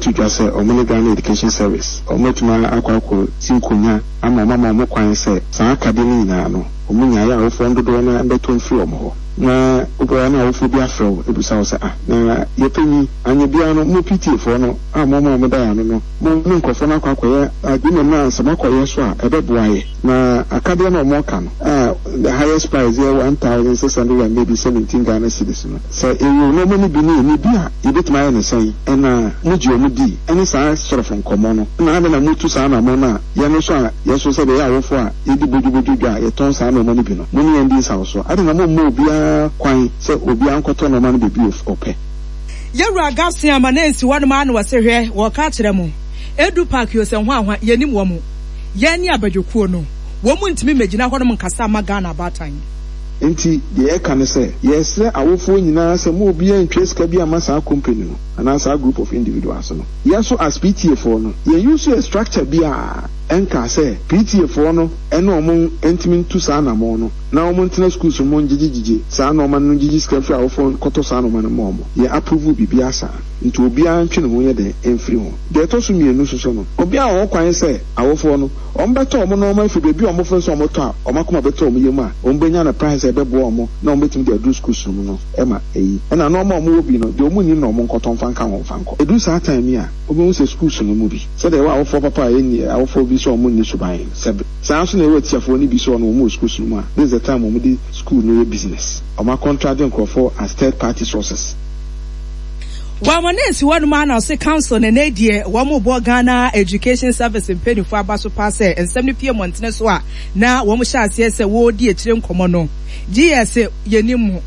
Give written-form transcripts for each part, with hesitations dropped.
to dwa sɛ wɔn ne Ghana Education Service wɔn atumi akɔ akɔ si nkonya ama wɔn ama wɔn kwan sɛ saa akadeɛ no nyinaa no wɔn nya yɛ awofoɔ no dodoɔ no ara mbɛtɔ mfiri wɔn hɔ. Na wobɛba na awofoɔ bi afrɛ wo abisa wo sɛ ah na yɛ panyin anyɛ biara no mo PTA foɔ no a mo a moda yɛn ano no mo ne nkorɔfoɔ no akɔ akɔyɛ agreement no ansa moakɔyɛ so a ɛbɛboa yɛ. Na akadeɛ no a wɔka no a the highest price yɛ 1,600 and maybe 17 Ghana cedis no, sɛ yɛwɔ nnoɔma no bi ne yɛnni bi a, yɛbɛtumi ayɛ no sɛn? Ɛna mogye wɔn di ɛne saa sɔrɔfo nkɔmmɔ no. Ɛna adɛn na motu saa anammɔn no a yɛn nso a yɛn nso sɛdeɛ yɛyɛ awofoɔ a yɛdi bodwobodwo dwa a yɛtɔn saa nnoɔma no bi no, mo ne yɛn di nsawɔsoɔ? Adɛn na momma obiara kwan sɛ obiara nkɔtɔ nnoɔma no baabi a ɔpɛ? Yɛwura Gabson ama no ansi hɔnom ara na ɔse, Hwɛ, wɔreka akyerɛ mo, Edu Park yi o, sɛ hwanhwa, yɛnnim wɔn. Yɛn ne abadwokuo no, wɔn ntumi mmɛgyina hɔnom nkasa mma Ghana abaatan. Enti deɛ yɛka ne sɛ, yɛresrɛ awofoɔ nyinaa sɛ mo obiara ntwa sika bi amma saa company no anaa saa group of individuals no. Yɛn nso as PTA foɔ no, yɛn use yɛ structure biara nkaa sɛ PTA foɔ no ne wɔn ntumi ntu saa anamɔn no na wɔn ntena schools no mu ngyegye gyegye saa nnoɔma no ngyegye sika mfiri awofoɔ nkɔtɔ saa nnoɔma no mma wɔn. Yɛn approve biribiara saa. Nti obiara ntwe ne ho nyɛ dɛn mfiri ho. Deɛ ɛtɔ so mmienu nso so no, obiara wɔ ho kwan sɛ awofoɔ no, wɔbɛtɔ wɔn nnoɔma afiri baabi a wɔfeel sɛ wɔtɔ a wɔn akoma bɛtɔ wɔn yam a wɔbɛnya no price a ɛbɛboa wɔn na wɔbɛtumi de aduru schools no mu no ma ayi. Ɛna nnoɔma a wɔwɔ bi no, deɛ wɔnnim na wɔnkɔtɔ mfa nka ho mfa nkɔ. Ɛduru saa time yi a, wobɛhu sɛ schools no mu bi, sɛdeɛ ɛwɔ awofoɔ papa a ɛnni awofoɔ bi sɛ wɔnni suban, sɛbe. Saa ara nso na ɛwɔ atiafoɔ no bi sɛ wɔn wɔ schools no mu a, this is the time wɔde school no yɛ business. Wɔakɔntragye nkorɔfoɔ as third party sources. Wɔama no asi hɔnom ara na ɔse council no ɛnɛ deɛ wɔn rebɔ Ghana Education Service mpaninfoɔ aba so paa sɛ nsɛm no pue mmɔntene so a na wɔn hyɛ aseɛ sɛ wɔredi akyire nkɔmmɔ no. GS yɛnim mo.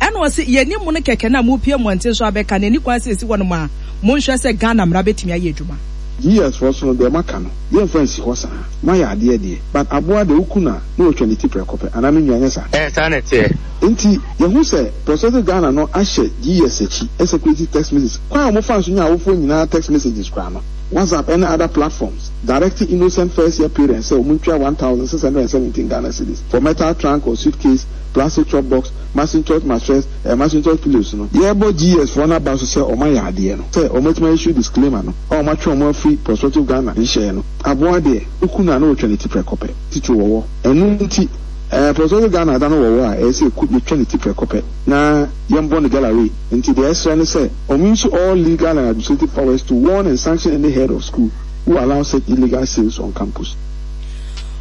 Ɛna ɔse yɛnim mo no kɛkɛ na mopue mmɔntene so abɛka no ɛni kwan sɛ ɛsi hɔnom a monhwɛ sɛ Ghana mmara bɛtumi ayɛ adwuma. GS foɔ so no deɛ moaka no yɛnfa nsi hɔ saa. Moayɛ adeɛ deɛ but aboa deɛ woku no a na watwa ne ti prɛko pɛ anaa me nua nyɛ saa? Ɛɛ saa na ɛteɛ. Nti yɛhu sɛ Prostate Ghana no ahyɛ GS akyi ɛsɛkulati text messages kwan a wɔfa so nya awofoɔ nyinaa text messages koraa no, WhatsApp ɛne other platforms directing innocent first year parents sɛ wɔn ntua 1,617 Ghana cedis for metal trunk or suitcase, plastic chop box, Macintosh mattress and Macintosh pillows no. Yɛrebɔ GS foɔ no aba so sɛ wɔn ayɛ adeɛ no sɛ wɔn atumi issue disclaimer no a wɔn atwe wɔn afiri Prospective Ghana nhyehyɛeɛ no. Aboa deɛ, woku no a na wɔtwa ne ti prɛko pɛ, titiriw wɔwɔ. Ɛno nti. Ɛɛ pɔsɔ sɛ Ghana ada no wɔwɔ a ɛyɛ sɛ yɛku yɛtwa ne ti prɛko pɛ na yɛmbɔ no galaway. Nti deɛ ɛsrɛ ne sɛ wɔn use all legal and administrative powers to warn and sanction any head of school who allow such illegal sales on campus.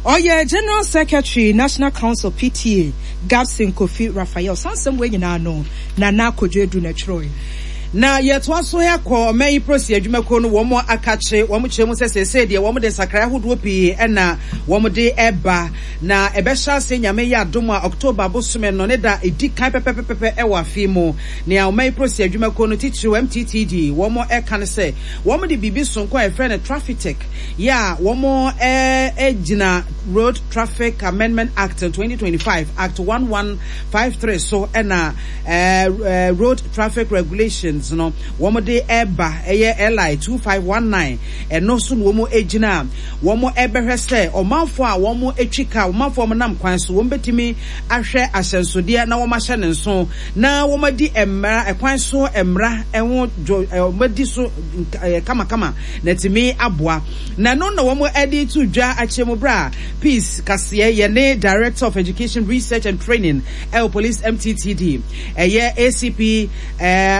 Ɔyɛ General Secretary, National Council PTA, Gabson Kofi Raphael. Saa nsɛm wei nyinaa no, Nana Kojo Adu na ɛtwerɛeɛ. Na yɛtoa so kɔ ɔman yi polisi adwumakuo no wɔn akakye wɔn kyerɛ mu sɛ seesei deɛ wɔn de nsakrae ahodoɔ pii na wɔn de ɛba. Na ɛbɛhyɛ aseɛ Nyame yɛ adom a October bosome no ne da ɛdi kan pɛpɛpɛpɛ wɔ afe yi mu. Nea ɔman yi polisi adwumakuo no titiriw MTTD wɔn ɛka ne sɛ wɔn de biribi sonko a yɛfrɛ no Trafitec yɛ a wɔn gyina Road Traffic Amendment Act 2025 Act 1153 so ɛna Road Traffic Regulations no wɔn de ɛba ɛyɛ LI 2519 ɛno so na wɔn gyina. Wɔbɛhwɛ sɛ ɔmanfoɔ a wɔtwi kaa, ɔmanfoɔ a wɔnam kwan so, wɔbɛtumi ahwɛ ahyɛnsodeɛ na wɔahyɛ no nso, na wɔadi mmara, ɛkwan so mmara ho dwo, wɔadi so kamakama na atumi aboa. Na ɛno na wɔde to dwa akyerɛ mu berɛ a Peace Kaseɛ yɛne Director of Education, Research and Training ɛwɔ Police MTTD, ɛyɛ ACP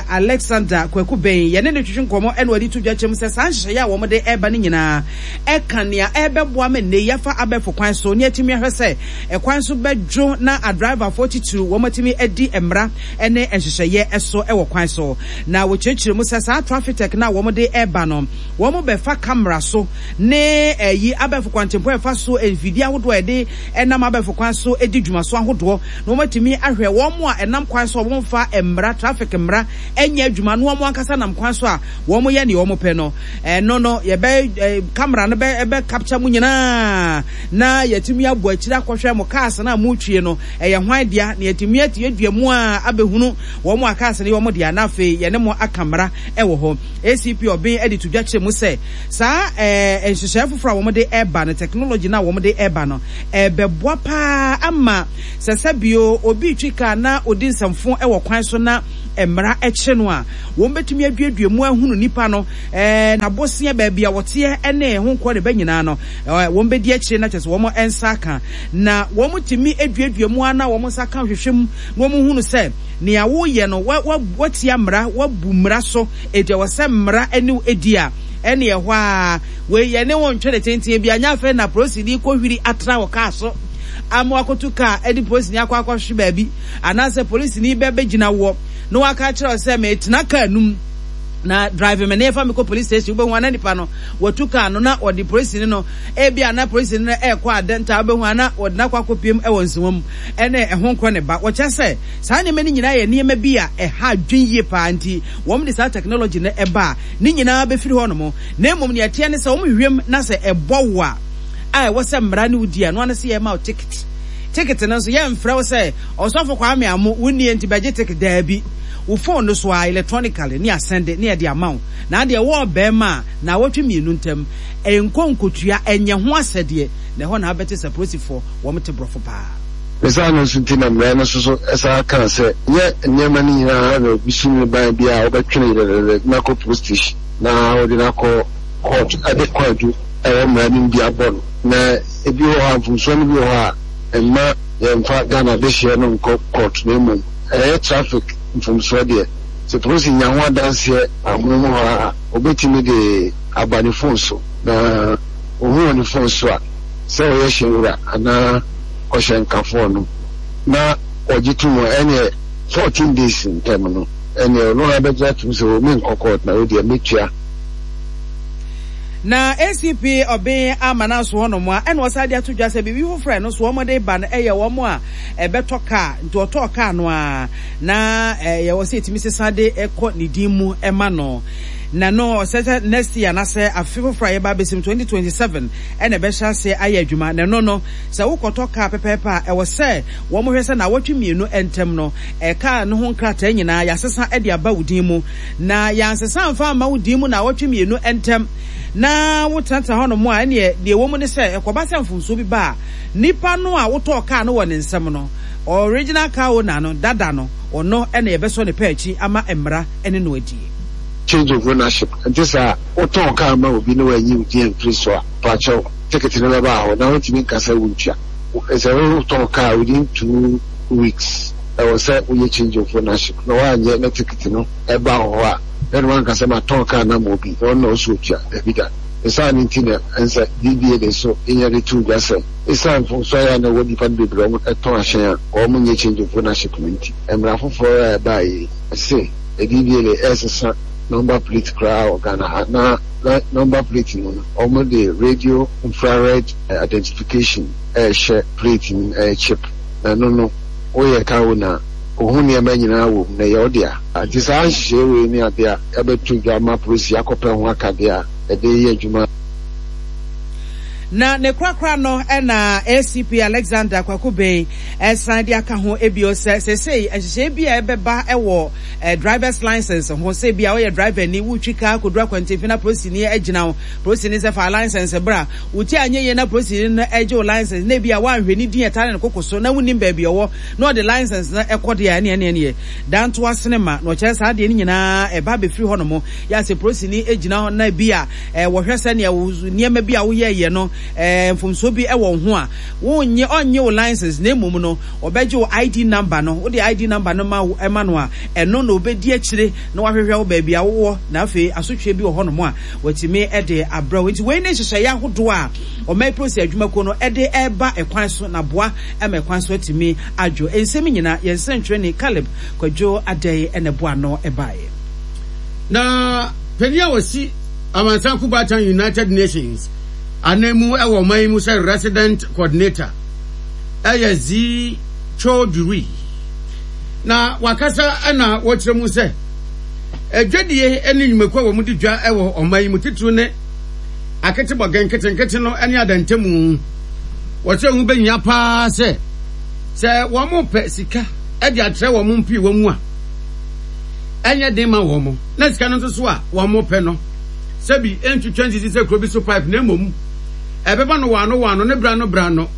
Alexander Kwaku Bɛn, yɛne no twetwe nkɔmmɔ ɛna ɔde to dwa kyerɛ mu sɛ saa nhyehyɛeɛ a wɔde reba no nyinaa ɛka nea ɛrebɛboa ma nnɛ yi yɛafa abɛɛfo kwan so na yɛatumi ahwɛ sɛ ɛkwan so bɛdwo na adriverfoɔ titiriw wɔatumi adi mmara ne nhyehyɛeɛ so wɔ kwan so. Na wɔkyerɛkyerɛ mu sɛ saa Trafitec no a wɔde reba no wɔbɛfa camera so ne ayi abɛɛfo kwantempɔn a ɛfa so mfidie ahodoɔ a yɛde nam abɛɛfo kwan so di dwuma so ahodoɔ na wɔatumi ahwɛ wɔn a ɛnam kwan so a wɔmfa mmara traffic mmara nyɛ adwuma na wɔn ankasa nam kwan so a wɔyɛ nea wɔpɛ no. Ɛno no, yɛbɛ camera no bɛ bɛ capture mo nyinaa na yɛatumi abɔ akyire akɔhwɛ mo cars no a motwie no ɛyɛ hwan dea na yɛatumi atuadua mu a abɛhunu wɔn a cars no yɛ wɔn dea na afei yɛne mo aka mmara wɔ hɔ. ACP Ɔben de to dwa kyerɛ mu sɛ saa ɛɛ nhyehyɛe foforɔ a wɔde ɛreba no, technology no a wɔde ɛreba no, ɛbɛboa paa ama sɛ sɛbio obi retwi car na ɔdi nsɛmfo wɔ kwan so na mmara kye no a, a, wɔn bɛtumi aduadua mu ahunu nipa no, n'aboseɛ, baabi a ɔteɛ ne ho nkoa ne ba nyinaa no, wɔn bɛdi akyire na kyerɛ sɛ wɔn nsa aka. Na wɔn tumi duadua mu ara na wɔn nsa ka hwehwɛ mu na wɔn hunu sɛ nea woyɛ no, woatia mmara, woabu mmara so, enti ɛwɔ sɛ mmara ne wo di a, ɛne ɛhɔ ara, wei yɛne wo ntwe ne tenten biara, nyɛ afei na polisini kɔhwiri atra wo kaa so ama wakɔtu kaa de polisini akɔ akɔhwe baabi, anaasɛ polisini bɛbɛgyina woɔ na waka akyerɛ wo sɛ metena kaa no mu na drive me na yɛfa me kɔ police station, wobɛhu ana nipa no watu kaa no na ɔde polisini no, ebi a na polisini no ɛrekɔ adɛnta, wobɛhu ana wɔde no akɔ akɔpiem wɔ nsewa mu ɛne ɛho nkorɔ ne ba. Wɔkyerɛ sɛ saa nneɛma no nyinaa yɛ nneɛma bi a ɛha adwene yie paa, nti wɔn de saa technology no ɛba a, ne nyinaa bɛfiri hɔ nom. Na mmom nea ɛteɛ ne sɛ wɔn hwehwɛ mu na sɛ ɛbɔ wo a, a ɛwɔ sɛ mmara ne wo di a, ɛno ara ne sɛ yɛma wo ticket. Ticket no nso yɛmfrɛ wo sɛ Ɔsɔfo Kwame Amo, wo nie nti bɛgye ticket, daabi. Wo phone no so ara electronically ne yɛasɛnde ne yɛde ama wo. Na adeɛ ɛwɔ ɔbarima a, naawɔtwe mmienu ntam, nkɔ nkotua, ɛnyɛ ho asɛdeɛ. Na ɛhɔ na wobɛte sɛ apolisifoɔ, wɔn te borɔfo paa. Ne saa no nso nti na mmara no nso so san kaa sɛ, Nyɛ nneɛma no nyinaa na obi sum ne ban biara a wobɛtwe no yerɛyerɛ de no akɔ police station na wode no akɔ court de kwaadu a ɛwɔ mmara no mu bi abɔ no. Na ebi wɔ hɔ a mfomsoɔ no bi wɔ hɔ a mma yɛmfa Ghana dehyeɛ no nkɔ court na mmom ɛyɛ traffic mfomsoɔ deɛ, sɛ polisi nya ho adanseɛ amonom hɔ ara a, ɔbɛtumi de aba ne phone so na ɔhu wɔ ne phone so a sɛ ɔyɛ hyɛnwura anaa ɔhyɛnkafoɔ no na ɔgye to mu a, ɛneɛ 14 days ntam no, ɛneɛ ɔno ara bɛgye atom sɛ o menkɔ court na wei deɛ mɛtua. Na ACP Obeng ama no aso hɔnom a, ɛna ɔsan de ato dwa sɛ biribi foforɔ a ɛno nso wɔde reba no yɛ wɔn a ɛbɛtɔ kaa, nti ɔtɔɔ kaa no ara na ɛyɛ wɔ sɛ ɛtumi sesa de kɔ ne din mu ma no. Na no ɔsɛ sɛ next year anaasɛ afe foforɔ a yɛba abɛsim 2027 ɛna ɛbɛhyɛ aseɛ ayɛ adwuma. Na ɛno no sɛ wokɔtɔ kaa pɛpɛɛpɛ a ɛwɔ sɛ wɔhwɛ sɛ naawɔtwe mmienu ntam no kaa no ho nkrataa nyinaa yɛasesa de aba wo din mu. Na yɛansesa amfa amma wo din mu naawɔtwe mmienu ntam na wotenatena hɔnom a, ɛnneɛ deɛ ɛwɔ mu ne sɛ, ɛkɔba sɛ mfomsoɔ bi ba a, nipa no a wotɔɔ kaa no wɔ ne nsam no, original car owner no, dada no, ɔno na yɛbɛsɔ ne pɛ akyi ama mmara ne no adie. Change of ownership, ɛnte saa a, wotɔn kaa ma obi na wanyi wo din amfiri so a, pakyɛw, ticket no bɛba hɔ na wontumi nka sɛ wontua. Sɛ wotɔn kaa within 2 weeks, ɛwɔ sɛ woyɛ change of ownership na woanyɛ na ticket no ba wo hɔ a, na wanka sɛ matɔn kaa no ama obi na ɔno na ɔsɛ otua. Dabi da. Ne saa no nti na ɛnsɛ DVLA so yɛnya de too dwa sɛ esiane mfomso a ɛyɛ a na ɛwɔ nnipa no bebree a wɔtɔn ahyɛn a wɔnyɛ change of ownership no nti, mmara foforɔ a ɛbaeɛ yi se DVLA ɛresesa number plate koraa wɔ Ghana ha na na number plate no no wɔde radio infrared identification ɛrehyɛ plate no mu, ɛyɛ chip, na ɛno no woyɛ car owner a, ohu nneɛma nyinaa wɔ mu na ɛyɛ wo dea. Nti saa nhyehyɛe wei ne ade a yɛabɛto dwa ama polisi akɔpɛ ho akadeɛ a yɛde reyɛ adwuma. Na ne korakora no na ACP Alexander Kwaku Bey san de aka ho bio sɛ seesei nhyehyɛe bi a ɛbɛba wɔ drivers license ho sɛ ebia woyɛ driver ni wotwi kaa kɔduru akwantemfi na polisini agyina wo, polisini sɛ fa license bra, wo ti anyɛ yie na polisini no gye wo license na ebia woanhwɛ ne din a ɛtare ne koko so na wonnim baabi a ɔwɔ na ɔde license no kɔ deɛ a ɛneɛ ɛneɛ ɛneɛ danto asene ma na ɔkyerɛ saa adeɛ no nyinaa ɛba abɛfiri hɔ nom yɛ a sɛ polisini gyina hɔ na ebi a wɔhwɛ sɛdeɛ wo nneɛma bi a woyɛɛyɛ no mfomsoɔ bi wɔ wo ho a wonnye ɔnnye wo license na mmom no ɔbɛgye wo ID number no wode ID number no ma ma no a ɛno na ɔbɛdi akyire na wahwehwɛ wo baabi a wowɔ na afei asotweɛ bi wɔ hɔ nom a watumi de abrɛ wo. Nti wei ne nhyehyɛeɛ ahodoɔ a Ɔman Polisi Adwumakuo no de reba ɛkwan so na aboa ma ɛkwan so atumi adwo. Nsɛm yi nyinaa, yɛn sɛntwerɛni Caleb Kwadwo Adei na ɛboa ano baeɛ. Na panin a ɔsi Amansan Kubaatan United Nations ananmu wɔ ɔman yi mu sɛ Resident Coordinator yɛ Zee Choudhury. Na wakasa na wɔkyerɛ mu sɛ Adwadie ne nnwumakuo a wɔdi dwa wɔ ɔman yi mu titiriw ne aketebɔgɛ nketenkete no ne adantamu. Wɔsɛ ho bɛhia paa sɛ sɛ wɔpɛ sika de atrɛ wɔn mpeewa mu a, ɛnyɛ den ma wɔn, na sika no nso so a wɔpɛ no, sɛbi ɛntwitwa nsisi sɛ kuro bi so pipe na mmom ɛbɛba no wɔano wɔano ne berɛ ano berɛ ano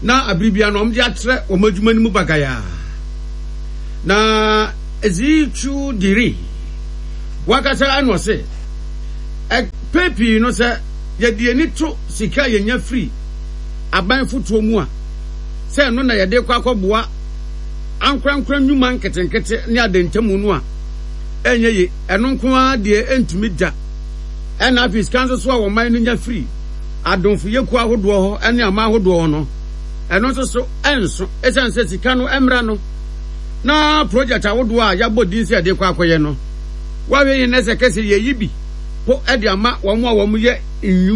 na abere biara no wɔde atrɛ wɔn adwuma no mu bagayaa. Na Zichu Diri. Wakasa ɛna ɔse, Mpɛn pii no sɛ yɛde yɛn ani to sika a yɛnya firi aban fotoɔ mu a, sɛ ɛno na yɛde rekɔ akɔboa ankorankora nnwuma nketenkete ne adantamu no a, ɛnyɛ ye. Ɛno nko ara deɛ ɛntumi da. Ɛna afei sika nso so a ɔman no nya firi adomfoyɛkuo ahodoɔ hɔ ne aman ahodoɔ hɔ no, ɛno nso so ɛnso. Ɛsiane sɛ sika no mmra no na project ahodoɔ a yɛabɔ din sɛ yɛde rekɔ akɔyɛ no, woahwɛ yie na sɛ kɛsɛ yɛyi bi po de ama wɔn a wɔyɛ nnwuma.